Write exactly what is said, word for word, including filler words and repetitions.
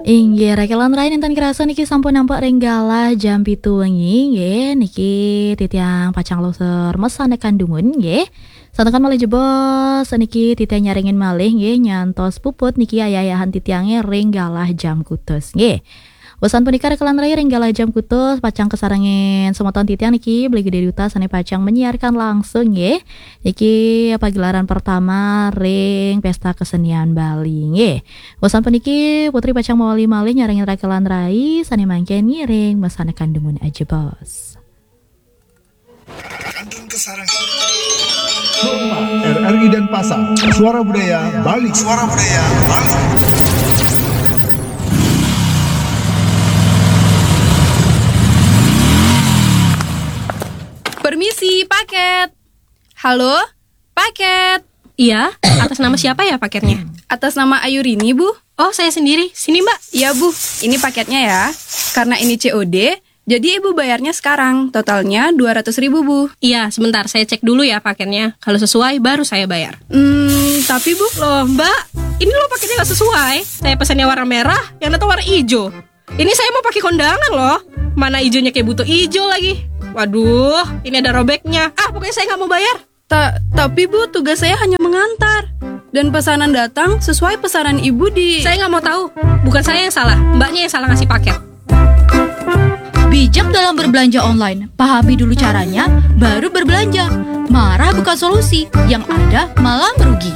Inggih, raka lan rai, nénten kerasa niki sampun nampak ring galah jam pitu wengi, nggih. Niki titiang pacang lungsur mesané kandungan, nggih. Santukan malih jebos niki titiang nyarengin malih, nggih, nyantos puput niki ayah-ayahan titiangé ring galah jam kutus, nggih. Wusan punika raka lan rai, ring galah jam kutus pacang kasarengin semeton titiang niki, Beli Gede Duta sané pacang menyiarkan langsung, nggih. Niki pagelaran pertama ring Pesta Kesenian Bali, nggih. Wusan puniki, Putri pacang mawali malih nyarengin raka lan rai sané mangkin ngiring mesané kandungan, jebos. Kantun kasarengin. Kompas, R R I Denpasar, Suara Budaya Bali. Suara Budaya Bali. Permisi, paket. Halo, paket. Iya, atas nama siapa ya paketnya? Atas nama Ayurini, Bu. Oh, saya sendiri. Sini, Mbak. Iya, Bu. Ini paketnya ya. Karena ini C O D, jadi Ibu bayarnya sekarang. Totalnya dua ratus ribu, Bu. Iya, sebentar. Saya cek dulu ya paketnya. Kalau sesuai, baru saya bayar. Hmm, tapi, Bu. Loh, Mbak, ini loh paketnya nggak sesuai. Saya pesannya warna merah, yang datang warna hijau. Ini saya mau pakai kondangan loh. Mana hijaunya kayak buto hijau lagi. Waduh, ini ada robeknya. Ah, pokoknya saya nggak mau bayar. Ta-, tapi, Bu, tugas saya hanya mengantar. Dan pesanan datang sesuai pesanan Ibu di... Saya nggak mau tahu. Bukan saya yang salah, Mbaknya yang salah ngasih paket. Bijak dalam berbelanja online. Pahami dulu caranya, baru berbelanja. Marah bukan solusi, yang ada malah merugi.